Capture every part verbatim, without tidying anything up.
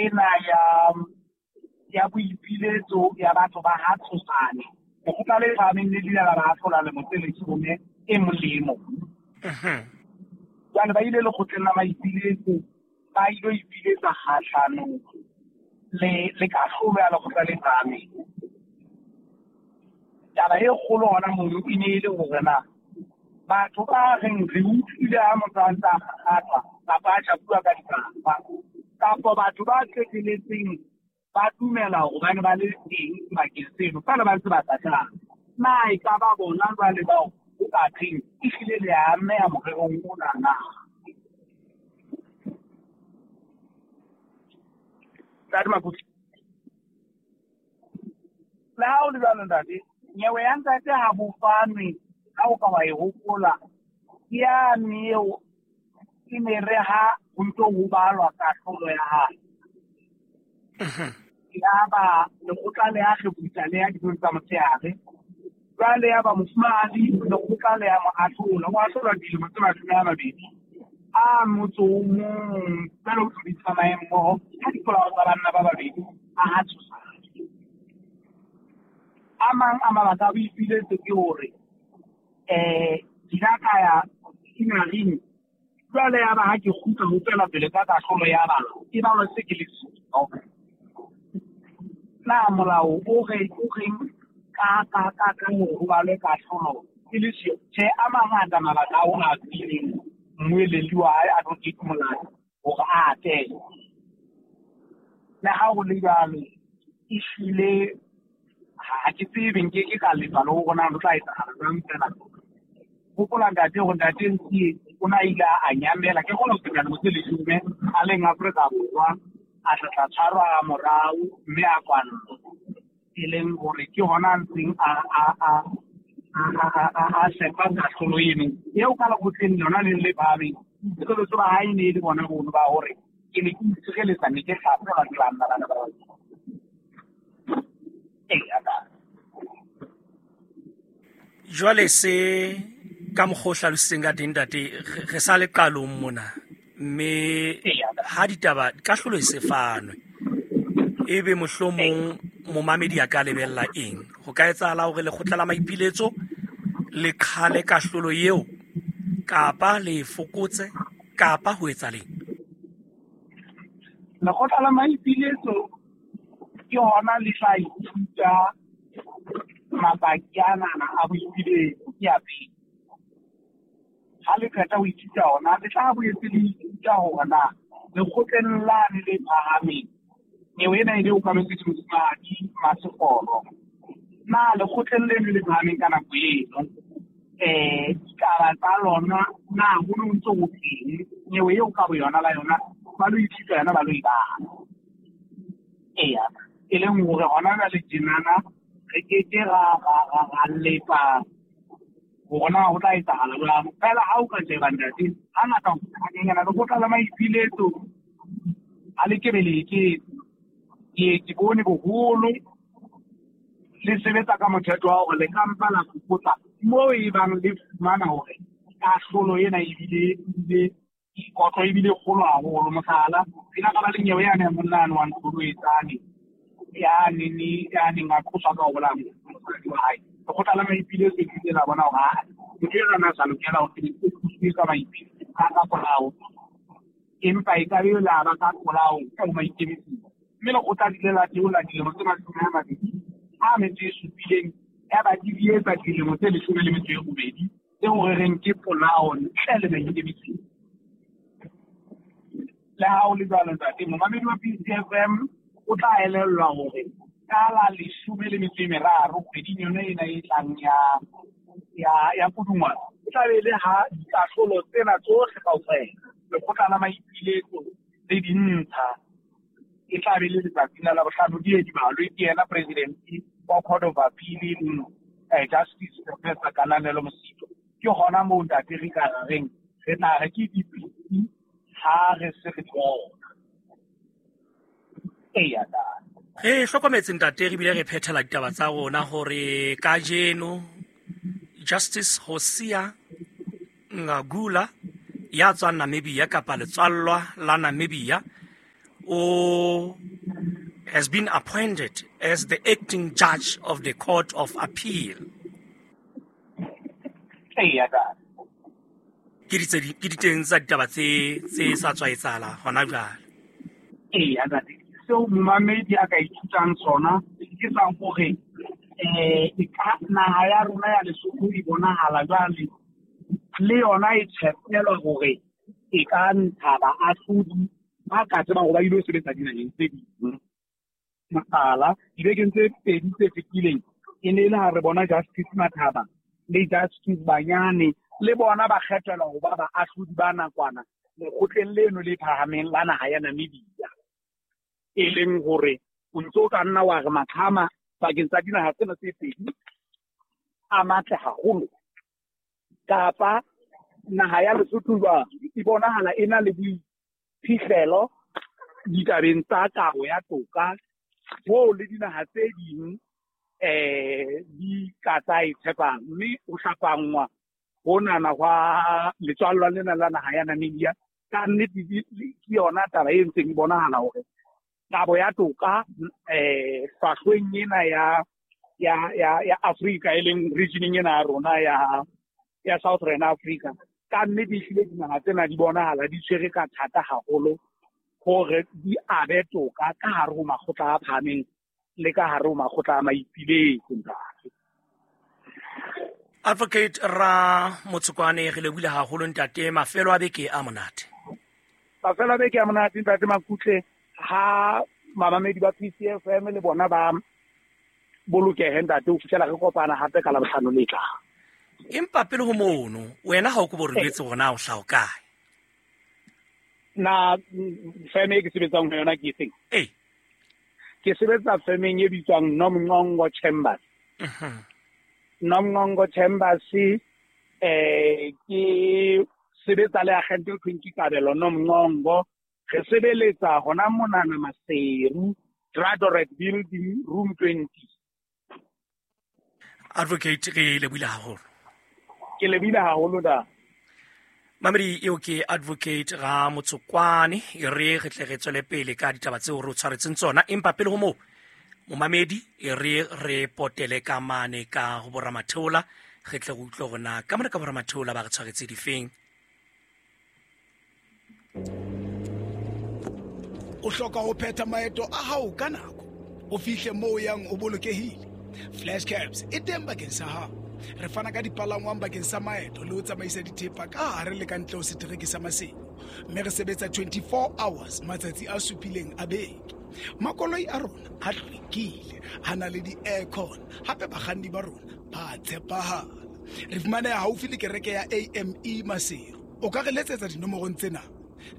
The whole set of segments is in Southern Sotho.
ena ya ya boipiletso ya batho ba ha Tshosane. Lekgotla le phahameng le ile la ba ahlola lemo tse leshome e mong le e mong. Jwale ba ile lekgotleng la maipiletso, ba ilo ipiletsa kgahlanong le le kahlolo ya lekgotla le phahameng. Taba e kgolo hona mono e ne e le hore na batho ba reng re utlwile ha motho a ntse a kgakgathwa kapa a shapuwa ka dipapa, kapa batho ba qeteletseng ba dumela hore ba ne ba le teng sebakeng seno, fela ba ntse ba sa tla. Na e ka ba bona jwale bao ho ka thweng ehlile le a ameha morerong ona na? Ntate Makuti. Le ha ho le jwalo ntate, nyewe ya ntate ha bo fanwe, ha o ka wa e hopola, ke yane eo e ne re ha ho ntso ho balwa kahlolo ya hae. Yaba lekgotla le ya kgefutsa le ya dijong tsa motshehare. Jwale yaba mofumahadi lekgotla le ya mo ahlola, o ahlolwa dilemo tse mashome a mabedi a motso o mong, jwale ho di tsamaye mmoho ka dipolao tsa banna ba babedi a ha Tshosane. A mang a mabaka a boipiletso ke hore eh ke ile ka ya scenaring, jwale yaba ha ke kgutla ho tswela pele ka kahlolo ya balo, e balwa se ke le siyo. Na molao o re o reng ka ka ka ka hore ho balwe kahlolo e le siyo? Tjhe, a mangata mabaka ao a fileng mmueledi wa hae Advocate Molao hore a atele. Le ha ho le jwalo, ehlile ha ke tsebe, nke ke ka lefa le hore na ho tla etsahala jwang fela. Hopola ntate hore ntate Ntsie o na ile a nyamela, ke kgona ho feta dilemo tse leshome a leng Afrika Borwa, a tla tla tshwarwa ha morao mme a kwallwa. E leng hore ke hona a ntseng a a a a a a a sepa kahlolo eno eo ka lekgotleng lona le le phahameng. Boipiletso ba hae ne e le bona bono ba hore ke ne ke itshireletsa, ne ke hlaselwa ke banna bana ba babedi. Eya, ntate. Jwale se ka mokgwa o hlalositseng ka teng ntate, re sa le qalong mona, mme ha ditaba kahlolo e se fanwe, ebe mohlomong momamedi a ka lebella eng? Ho ka etsahala hore lekgotla la maipiletso le qhale kahlolo eo, kapa le e fokotse, kapa ho etsa leng? Lekgotla la maipiletso ke hona le tla ithuta mabaki anana a boipiletso ke ya pele. Ha le qeta ho ithuta ona, le tla boetse le ithuta hore na lekgotleng lane le phahameng, nyewe ena e ne e okametswe ke mofumahadi Masekgoro, na lekgotleng leno le phahameng ka nako eno eh ditaba tsa lona na ho no ntso ho teng nyewe eo ka boyona la yona ba lo ithuta yona ba lo e bala. Eya, e leng hore hona jwale tjenana re keke ra ra ra ra lepa hore na ho tla etsahala jwang. Fela ha o ka sheba ntate, hangata hanyenyana lekgotla la maipiletso ha le kebe le eketse. Ke ke bone boholo le sebetsa ka mothetho wa hore le ka mpa la fokotsa moo e bang le fumana hore kahlolo ena ebile ebile kotlo ebile kgolo haholo. Mohlala, re ile ra ba le nyewe yane ya monna yane wa Nkholoetsane ya neng ya neng a qoswa ka ho bolaya mosadi wa hae. Lekgotla la maipiletso le ile la bona hore aa motho enwa na sa lokela hore o qoswe ka maipiletso ka ka polao, empa e ka be la ba ka polao ka ho maikemisetso. Mme lekgotla le ile la theola dilemo tse mashome a mabedi a metso e supileng, ya ba di etsa dilemo tse leshome le metso e robedi tseo re reng ke polao ntle le maikemisetso. Le ha ho le jwalo ntate, momamedi wa P C F M o tla elellwa hore ka la leshome le metso e meraro kgweding yona ena e tlang ya ya ya Pudungwana, e tla be e le ha dikahlolo tsena tsohle kaofela lekgotla la maipiletso le dintsha, e tla be le letsatsing la Labohlano di ye di balwe ke yena president wa Court of Appeal e leng eh, Justice Professor Kananelo Mosito. Ke hona moo ntate re ka reng re tla re ke dipitsi ha re se re di bona. Eya, ntate. Re hlokometse ntate, re bile re phethela ditaba tsa rona hore kajeno Justice Hosea Ngagula ya tswang Namibia kapa letswallwa la Namibia o has been appointed as the acting judge of the Court of Appeal. Eya ntate. Ke ditse ke diteng tsa ditaba tse tse sa tswa etsahala hona jwale. Eya ntate, seo momamedi a ka ithutang sona ke sa hore eh e ka naha ya rona ya Lesotho e bonahala jwale le yona e tshepelwa hore e ka ntsha baahlodi ba ka tsebang hore ba ilo sebetsa dinaheng tse ding. Mohlala, dibekeng tse pedi tse fetileng e ne e le ha re bona Justice Mathaba le Justice Banyane le bona ba kgethelwa ho ba baahlodi ba nakwana lekgotleng leno le phahameng la naha ya Namibia. E leng hore o ntso ka nna wa re maqhama pakeng tsa dinaha tsena tse pedi a matle haholo, kapa naha ya Lesotho jwang e bonahala e na le boiphihlelo ditabeng tsa kabo ya toka hoo le dinaha tse ding eh di ka tsa e tshepang, mme ho hlapangwa honana hwa letswallwa lena la naha ya Namibia ka nnete ke yona taba e ntseng e bonahala hore kabo ya toka eh hlwahlweng ena ya ya ya ya Afrika e leng regioneng ena ya rona ya ya Southern Africa, ka nnete ehlile dinaha tsena di bonahala di tshwere ka thata haholo hore di abe toka ka hare ho makgotla a phahameng le ka hare ho makgotla a maipiletso ntate. Advocate Ra Motshokwane, re lebohile haholo ntate, mafelo a beke a monate. Mafelo a beke a monate ntate Makutle, ha mamamedi ba P C F M le bona ba bolokehe ntate ho fihlela re kopana hape ka Labohlano le tlang. Empa pele ho mono, wena ha o ko bo re jwetse hore na o hlaha kae? Na firm e ke sebetsang ho yona ke efeng? Ee. Ke sebetsa firmeng e bitswang Nomngongo Chambers. Mhm. Nomngongo Chambers eh ke sebetsa le agente e thweng ke Kabelo Nomngongo. Re sebeletsa hona monana Maseru, Dradoret Building, room twenty. Advocate, re lebohile haholo. Ke lebohile haholo da. Mamedi eo ke Advocate Ra Motshokwane, e re re tle re tswele pele ka ditaba tseo re o tshwaretseng tsona, empa pele ho moo momamedi e re re potele ka mane ka ho boramatheola, re tle re utlwe hore na ka mane ka boramatheola ba re tshwaretse difeng. O hloka ho phetha maeto a hao ka nako, o fihle moo o yang o bolokehile. Flash Cabs e teng bakeng sa hao. Re fana ka dipalangwang bakeng sa maeto le ho tsamaisa dithepa ka hare le ka ntle ho setereke sa Maseru, mme re sebetsa twenty-four hours matsatsi a supileng a beke. Makoloi a rona a hlwekile, a na le di-aircon, hape bakganni ba rona ba tshepahala. Re fumaneha haufi le kereke ya A M E Maseru. O ka re letsetsa dinomorong tsena: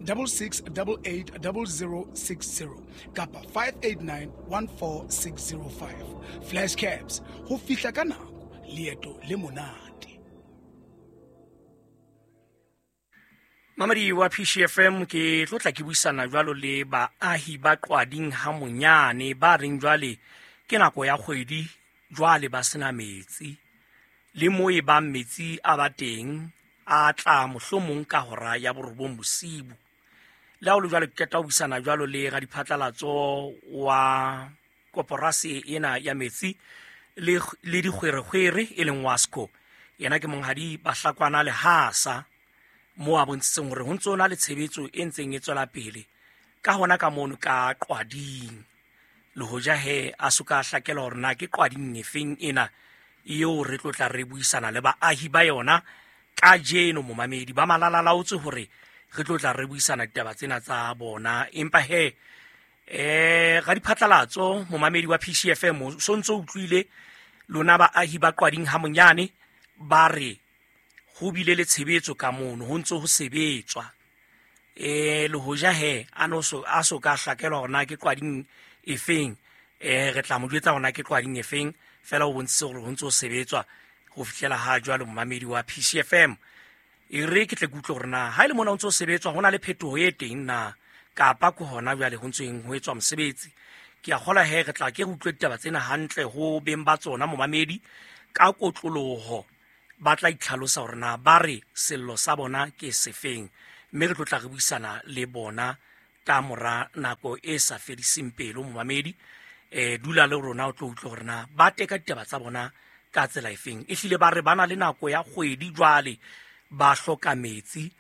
double six double eight double zero six zero kapa five eight nine one four six zero five. Flash Cabs, ho fihla ka nako, leeto le monate. Mamedi wa P C F M, ke tlo tla ke buisana jwalo le baahi ba Qwading ha monyane ba reng jwale ke nako ya kgwedi jwale ba sena metsi, le mo e bang metsi a ba teng a tla mohlomong ka hora ya borobong bosibu. Le ha ho le jwalo, ke qeta ho buisana jwalo le radiphatlalatso wa koporasi ena ya metsi le le dikgwerekgwere e leng Wasco. Yena ke monghadi Bahlakwana Lehasa, mo a bontshitseng hore ho ntso na le tshebetso e ntseng e tswela pele ka hona ka mono ka Qwading. Le hoja he a soka a hlakela hore na ke Qwading efeng ena eo re tlo tla re buisana le baahi ba yona kajeno. Momamedi ba malalalaotse hore re tlo tla re buisana ditaba tsena tsa bona, empa he eh radiphatlalatso momamedi wa P C F M so ntso utlwile lona baahi ba Qwading ha monyane ba re ho bile le tshebetso ka mono, ho ntso ho sebetswa. Eh le hoja he a no so a so ka hlakelwa hore na ke Qwading efeng, eh re tla mo jwetsa hore na ke Qwading efeng, fela o bontshitse hore ho ntso ho sebetswa ho fihlela ha jwale. Momamedi wa P C F M, e re ke tle ke utlwe hore na ha ile mona ho ntso ho sebetswa ho na le phetoho e teng na, kapa ke hona jwale ho ntseng ho etswa mosebetsi. Ke a kgolwa he re tla ke re utlwe ditaba tsena hantle ho beng ba tsona momamedi ka kotloloho, ba tla itlhalosa hore na ba re sello sa bona ke sefeng, mme re tlo tla re buisana le bona ka mora nako e sa fediseng pelo momamedi. Eh dula le rona o tlo utlwe hore na ba teka ditaba tsa bona ka tsela efeng. Ehlile ba re bana le nako ya kgwedi jwale ba hloka metsi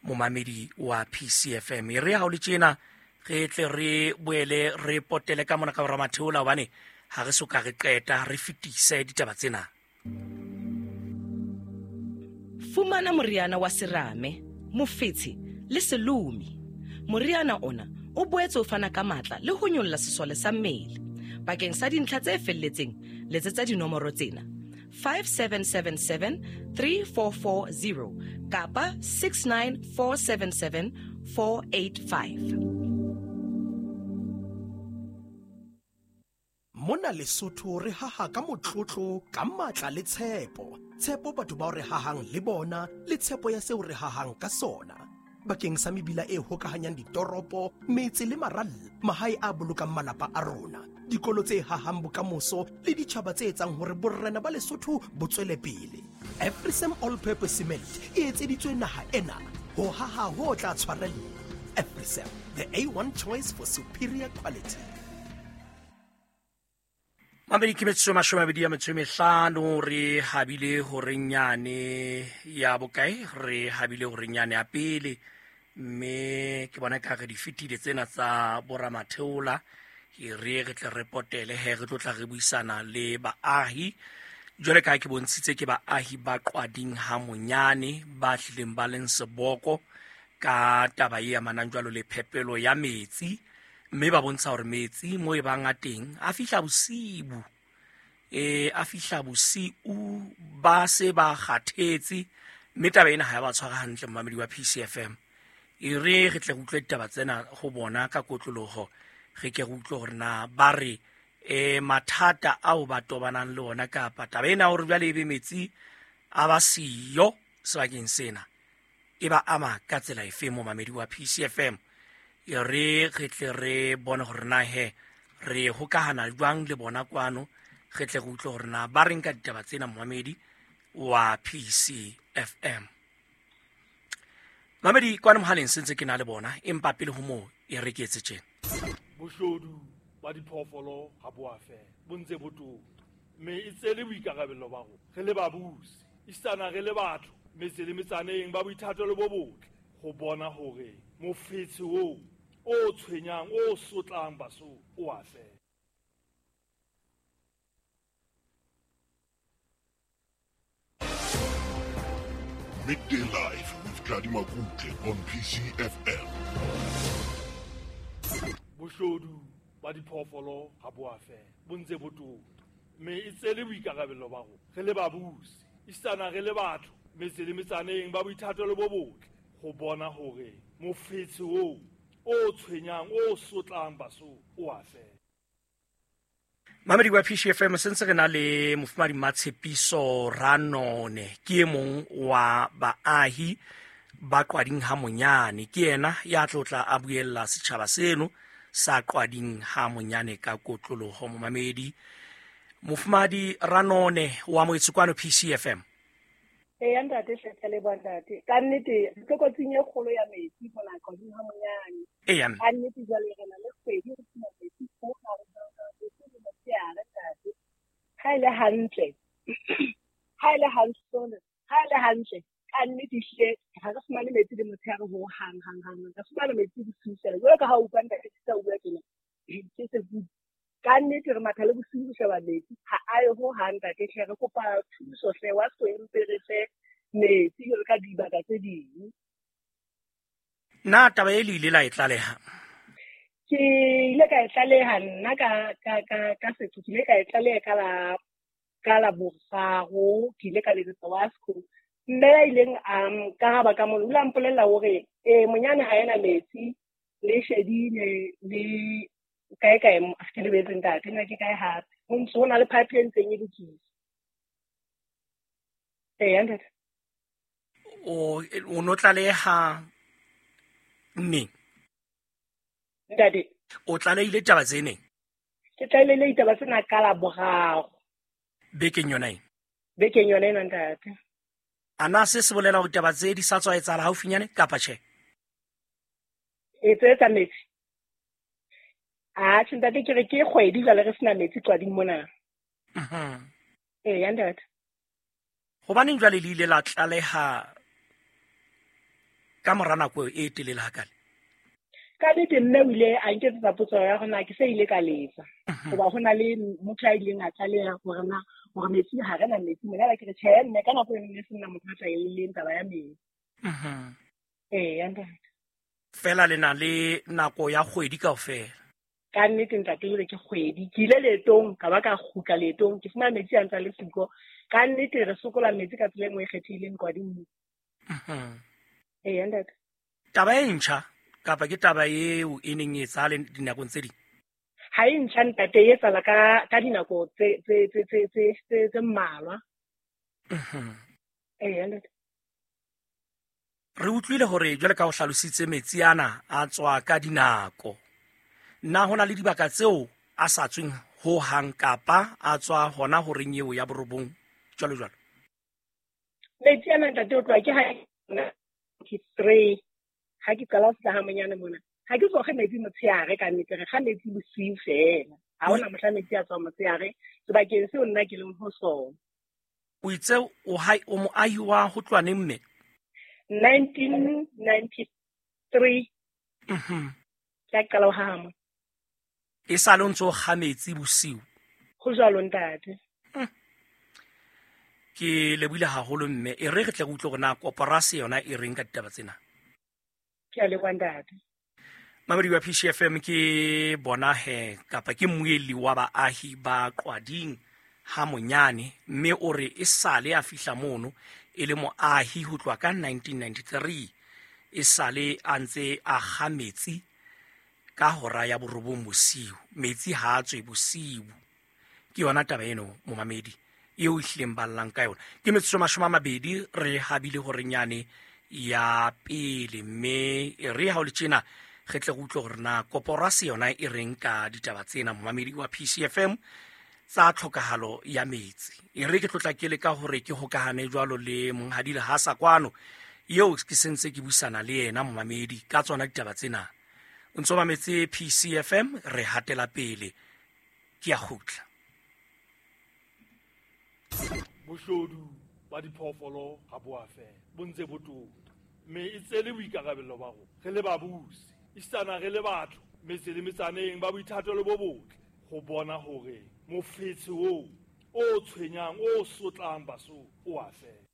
momamedi wa P C F M. E re ha o le tjena re tle re boele re potele ka mona ka hora matheola hobane ha re soka re qeta re fetise ditaba tsena. Fumana moriana wa serame, mofetshe le selomi. Moriana ona o boetse o fana ka matla le ho nyolla sesole sa mmele. Bakeng sa dintlha tse felletseng, letsetsa dinomoro tsena: five seven seven seven three four four zero kapa six nine four seven seven four eight five. Mona Lesotho re haha ka motlotlo, ka matla le tshepo. Tshepo batho bao re hahang le bona, le tshepo ya seo re hahang ka sona. Bakeng sa mebila e hokahanyang ditoropo, metse le maralla, mahae a bolokang malapa a rona, dikolo tse hahang bokamoso le ditjhaba tse etsang hore borena ba Lesotho bo tswele pele. Afrisem All Purpose Cement e etseditswe naha ena ho haha ho tla tshwarella. Afrisem, the A one choice for superior quality. Mamedi ke metsotso e mashome a mabedi a metso e mehlano re habile horeng yane ya bokae, re habile horeng yane ya pele, mme ke bona ka re di fetile tsena tsa boramatheola. E re re tle re potele he re tlo tla re buisana le baahi. Jwale ka ke bontshitse ke baahi ba Qwading ha Monyane ba hlileng ba leng seboko ka taba e amanang jwalo le phepelo ya metsi, mme ba bontsha hore metsi mo e bang a teng a fihla bosibu, e a fihla bosiu ba se ba kgathetse, mme taba ena ha ya ba tshwara hantle momamedi wa P C F M. E re re tle re utlwe ditaba tsena ho bona ka kotloloho, re ke re utlwe hore na ba re e mathata ao ba tobanang le ona kapa taba ena hore jwale ebe metsi a ba siyo sebakeng sena e ba ama ka tsela efe momamedi wa P C F M. E re re tle re bone hore na he re hokahana jwang le bona kwano, re tle re utlwe hore na ba reng ka ditaba tsena momamedi wa P C F M. Mamedi kwano mohaleng sentse ke na le bona, empa pele ho moo e re ke etse tjena. Boshodu ba diphoofolo ha bo a fela, bo ntse bo tota, mme e tse le boikarabelo ba rona re le babusi, esitana re le batho metse le metsaneng ba boithatelo bo botle ho bona hore mofetshe oo o tshwenyang o sotlang Basotho o a fela. Midday Live with Tladi Makutle on P C F M. Boshodu ba diphoofolo ha bo a fela, bo ntse bo tota, mme e tse le boikarabelo ba rona re le babusi, esitana re le batho metse le metsaneng ba boithatelo bo botle ho bona hore mofetshe oo o tshwenyang o sotlang Basotho o a fela. Mamedi wa P C F M, sentse re na le mofumahadi Matshepiso Ranone, ke e mong wa baahi ba Qwading ha Monyane. Ke yena ya tlotla a buella setjhaba seno sa Qwading ha Monyane ka kotloloho. Momamedi mofumahadi Ranone wa moetse kwano P C F M. Eya ntate, hle le bona ntate. Ka nnete re tlokotsing e kgolo ya metsi mona Qwading ha Monyane. Eya. Ka nnete jwale re na le kgwedi re sena metsi ho hang ntate. Ha e le hantle, ha e le hantle, ha e le hantle, ka nnete hle ha re fumane metsi le motshehare ho hang hang hang. Re fumana metsi bosiu fela. Jwalo ka ha o utlwa ntate ke sa bua tjena, ke se bua. Ka nnete re matha le bosiu ho sheba metsi, ha a ye ho hang ntate hle. Re kopa thuso hle, wa so empe re fe metsi jwalo ka dibaka tse ding. Na taba e le ile la e tlaleha? Ke ile ka e tlaleha nna ka ka ka ka setho, ke ile ka e tlaleha ka la ka la boraro, ke ile ka letsetsa Wasco. Mme ya ileng a nkaraba ka mono, o ile a mpolella hore eh Monyane ha ena metsi, le shedile le kae kae, ke lebetse ntate, nna ke kae hape. Ho ntso ho na le pipe e ntseng e lokiswa. Eya ntate. O o no tlaleha neng? Ntate. O tlalehile taba tse neng? Ke tlalehile ditaba tsena ka la boraro. Bekeng yona ena? Bekeng yona ena ntate. Ana se se bolela hore taba tse di sa tswa etsahala haufinyane kapa tjhe? E tse tsa metsi. A tjhe ntate, ke re ke kgwedi jwale re sena metsi Qwading mona. Mhm. Eya ntate. Hobaneng jwale le ile la tlaleha ka mora nako e telele hakale? Ka nnete mme o ile a nketsetsa potso ya hore na ke se ile ka letsa. Hoba ho na le motho a ileng a tlaleha hore na hore metsi ha re na metsi mona, ke re tjhe mme ka nako eno ne se nna motho a tlaeleng taba ya metsi. Mhm. Eya ntate. Fela le na le nako ya kgwedi kaofela. Ka nnete ntate, jwale ke kgwedi. Ke ile leetong, ka ba ka kgutla leetong, ke fumana metsi a ntse a le siko. Ka nnete re sokola metsi ka tsela e nngwe e kgethehileng Qwading. Mhm. Eya ntate. Taba e ntjha kapa ke taba eo e neng e etsahale dinakong tse ding? Ha e ntjha ntate, e etsahala ka ka dinako tse tse tse tse tse tse tse mmalwa. Mhm. Eya ntate. Re utlwile hore jwale ka ho hlalositse metsi ana a tswa ka dinako. Na hona le dibaka tseo a sa tsweng ho hang kapa a tswa hona horeng eo ya borobong jwalo jwalo? Metsi ana ntate o tloha ke ha three ha ke qala ho fihla ha monyane mona. Ha ke so kge metsi motshehare ka nnete, re kga metsi bosiu fela. Ha hona mohla metsi a tswang motshehare sebakeng seo nna ke leng ho sona. O itse o hai o moahi wa ho tloha neng mme? nineteen ninety-three. Mhm. Ke a qala ho hama. E sa le o ntso kga metsi bosiu? Ho jwalo ntate. Ke lebohile haholo mme, e re re tle re utlwe hore na koporasi yona e reng ka ditaba tsena. Ke a leboha ntate. Mamedi wa P C F M ke bona he kapa ke mmuelli wa baahi ba Qwading ha monyane, mme o re e sale a fihla mono e le moahi ho tloha ka nineteen ninety-three, e sale a ntse a kga metsi ka hora ya borobong bosiu. Metsi ha a tswe bosiu. Ke yona taba eno momamedi eo e hlileng ba llang ka yona. Ke metsotso mashome a mabedi re habile horenyane ya pele, mme e re ha o le tjena re tle re utlwe hore na koporasi yona e reng ka ditaba tsena momamedi wa P C F M tsa tlhokahalo ya metsi. E re ke tlotla ke le ka hore ke hokahane jwalo le monghadi Lehasa kwano eo ke sentse ke buisana le yena momamedi ka tsona ditaba tsena. O ntso mametse P C F M, re hatela pele. Ke a kgutla. Boshodu ba diphoofolo ha bo a fela, bo ntse bo tota. Mme e tse le boikarabello ba rona re le babusi, esitana re le batho metse le metsaneng ba boithatelo bo botle ho bona hore mofetshe oo o tshwenyang o sotlang Basotho o a fela.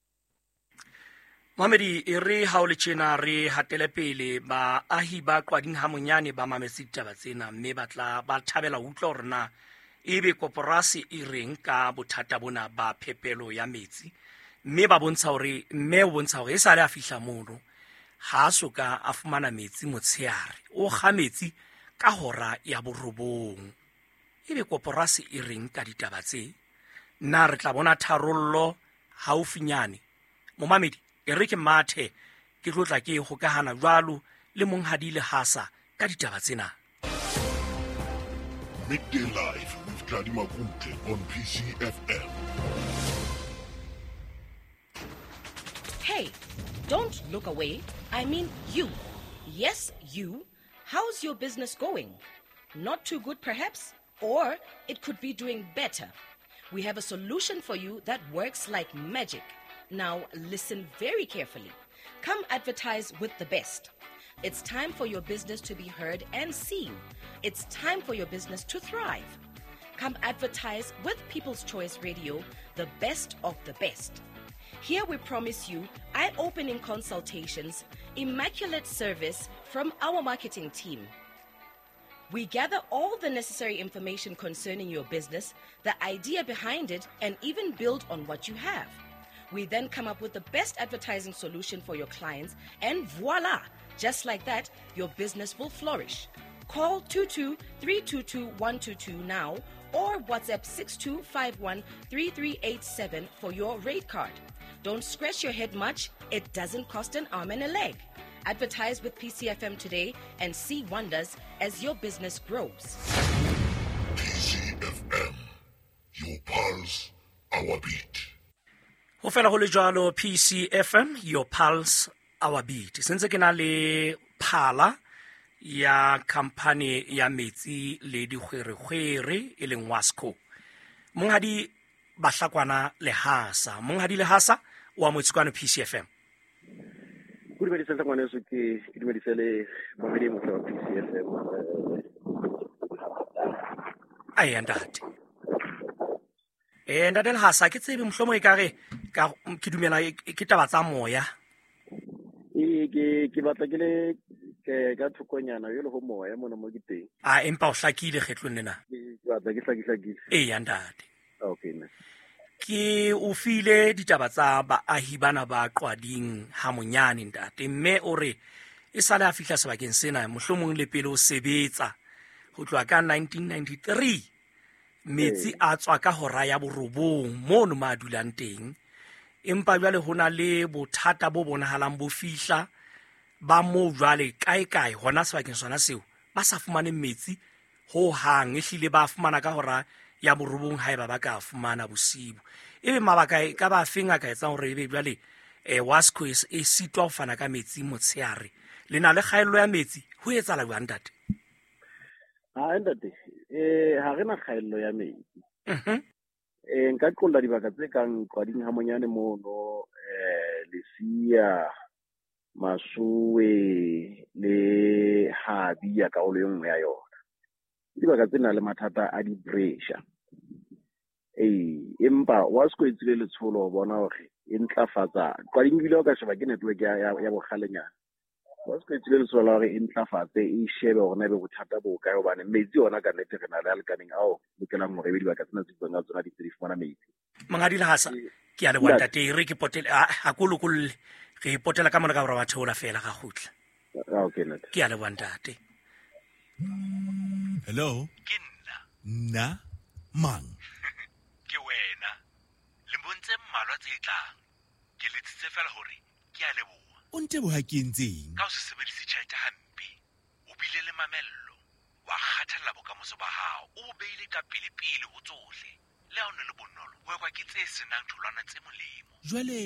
Mamedi, e re ha o le tjena re hatele pele. Baahi ba Qwading ha monyane ba mametse ditaba tsena mme ba tla ba thabela ho utlwa hore na ebe koporasi e reng ka bothata bona ba phepelo ya metsi, mme ba bontsha hore mme o bontsha hore e sale a fihla mono ha a soka a fumana metsi motshehare, o kga metsi ka hora ya borobong. Ebe koporasi e reng ka ditaba tse? Na re tla bona tharollo haufinyane? Momamedi, e re ke mathe ke tlo tla ke hokahana jwalo le monghadi Lehasa ka ditaba tsena. Midday Live with Tladi Makutle on P C F M. Hey, don't look away. I mean you. Yes, you. How's your business going? Not too good, perhaps? Or it could be doing better. We have a solution for you that works like magic. Now, listen very carefully. Come advertise with the best. It's time for your business to be heard and seen. It's time for your business to thrive. Come advertise with People's Choice Radio, the best of the best. Here we promise you eye-opening consultations, immaculate service from our marketing team. We gather all the necessary information concerning your business, the idea behind it, and even build on what you have. We then come up with the best advertising solution for your clients, and voila! Just like that, your business will flourish. Call two two three two two one two two now or WhatsApp six two five one three three eight seven for your rate card. Don't scratch your head much. It doesn't cost an arm and a leg. Advertise with P C F M today and see wonders as your business grows. P C F M, your pulse, our beat. Ho fela ho le jwalo, P C F M, your pulse, our beat. Sentse ke na le phala ya khamphane ya metsi le dikgwerekgwere e leng WASCO. Monghadi Bahlakwana Lehasa, Monghadi Lehasa o amohetswe kwano P C F M. Go dumedisa ngwaneso, ke ke dumedise le mamedi motle wa P C F M. Ai ntate. Eh ntate Lehasa, ke tsebe mohlomong e ka re ka ke dumela ke taba tsa moya. E ke ke batla ke le ke ka thokonyana yo le ho moya mona mo ke teng. A empa o hlakile kgetlong lena. Ke batla ke hlakile. Eh ntate. Okay ne. Ke o file ditaba tsa baahi bana ba Qwading ha monyane ntate, mme o re e sale a fihla sebakeng sena mohlomong le pele o sebetsa ho tloha ka nineteen ninety-three metsi a tswa ka hora ya borobong mono ma dulang teng, empa jwale ho na le bothata bo bonahalang bo fihla ba moo jwale kae kae hona sebakeng sona seo ba sa fumane metsi ho hang, ehlile ba fumana ka hora ya borobong haeba ba ka fumana bosibu. Ebe mabaka e ka ba feng a ka etsang hore ebe jwale eh WASCO e sitwa ho fana ka metsi motshehare, le na le kgaello ya metsi, ho etsahala jwang ntate? Ha ntate, eh ha re na kgaello ya metsi. Mhm. Eh nka qolla dibaka tse kang Qwading ha monyane mono, eh Lesia, Masowe le Habia karolo e nngwe ya yona. Dibaka tse nang le mathata a di-pressure. Ee, empa WASCO e tsile letsholo ho bona hore e ntlafatsa. Qwading ebile o ka sheba ke network ya ya bokgalenyana. WASCO e tsile letsholo la hore e ntlafatse, e shebe hore na ebe bothata bo kae, hobane metsi ona ka nnete re na le a lekaneng ao lokelang hore ebe dibaka tsena tse buang ka tsona di tse di fumana metsi. Monghadi Lehasa, ke a leboha ntate, re ke potele a ko lokolle, re potela ka mona ka hore ba theola fela ga kgutla. Okay ntate. Ke a leboha ntate. Hello? Ke nna. Nna? Mang? Ke wena. Lemong tse mmalwa tse tlang, ke letsitse fela hore ke a leboha. O nteboha ke entseng? Ka ho se sebedise tjhelete hampe, o bile le mamello, wa kgathalla bokamoso ba hao, o bo beile ka pele-pele ho tsohle. Le ha o ne le bonolo, ho ekwa ke tse senang tholwana tse molemo. Jwale,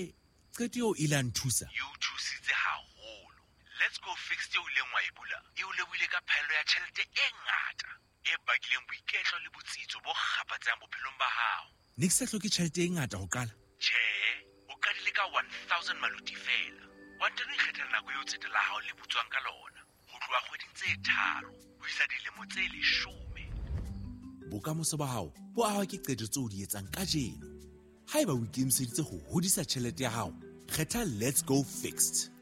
qeto eo ile ya nthusa? E o thusitse haholo. Let's Go Fixed eo ileng wa e bula, e o lebohile ka phaello ya tjhelete e ngata, e bakileng boiketlo le botsitso bo kgaphatsehang bophelong ba hao. Ne ke sa hloke tjhelete e ngata ho qala? Tjhe, o qadile ka one thousand maluti fela. Wa ntano ikgethela nako eo tsete la hao le butswang ka lona, ho tloha kgweding tse tharo ho isa dilemo tse leshome. Bokamoso ba hao bo ahwa ke qeto tseo o di etsang kajeno. Haeba o ikemiseditse ho hodisa tjhelete ya hao, kgetha Let's Go Fixed.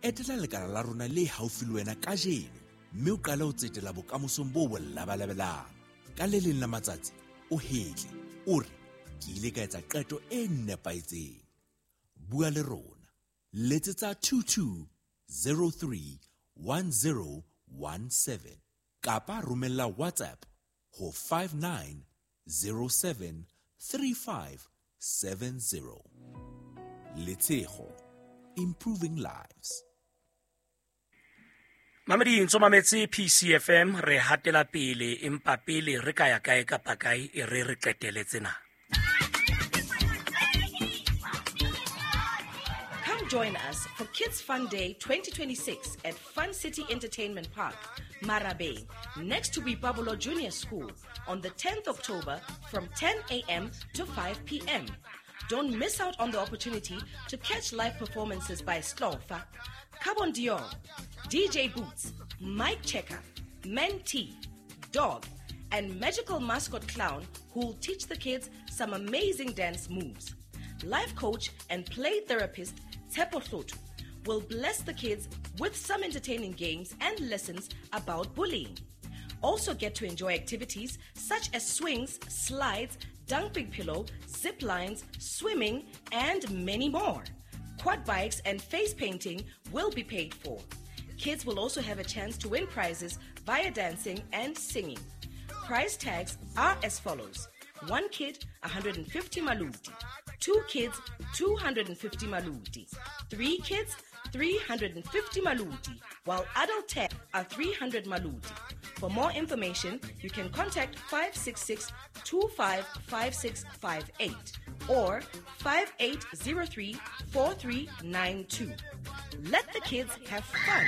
Etela lekala la rona le haufi le wena kajeno, mme o qale ho tsetela bokamosong bo bo labalabelang. Ka le leng la matsatsi o hetle, o re ke ile ka etsa qeto e nepahetseng. Bua le rona. Letsetsa two two zero three one zero one seven kapa romella WhatsApp ho five nine zero seven three five seven zero. Letshego, improving lives. Mamedi ntso mametse P C F M, re hatela pele, empa pele re ka ya kae kapa kae e re re qetele tsena. Come join us for Kids Fun Day twenty twenty-six at Fun City Entertainment Park, Marabeng, next to Boipabolo Junior School on the tenth of October from ten a.m. to five p.m. Don't miss out on the opportunity to catch live performances by Slofa, Carbon Dior, D J Boots, Mike Checker, Men T, Dog, and magical mascot clown who will teach the kids some amazing dance moves. Life coach and play therapist Tshepo Hloto will bless the kids with some entertaining games and lessons about bullying. Also get to enjoy activities such as swings, slides, dumping pillow, zip lines, swimming, and many more. Quad bikes and face painting will be paid for. Kids will also have a chance to win prizes via dancing and singing. Prize tags are as follows. One kid, one hundred fifty maluti. Two kids, two hundred fifty maluti. Three kids, three hundred fifty maluti, while adult tags are three hundred maluti. For more information, you can contact five six six, two five five six five eight or five eight zero three, four three nine two. Let the kids have fun.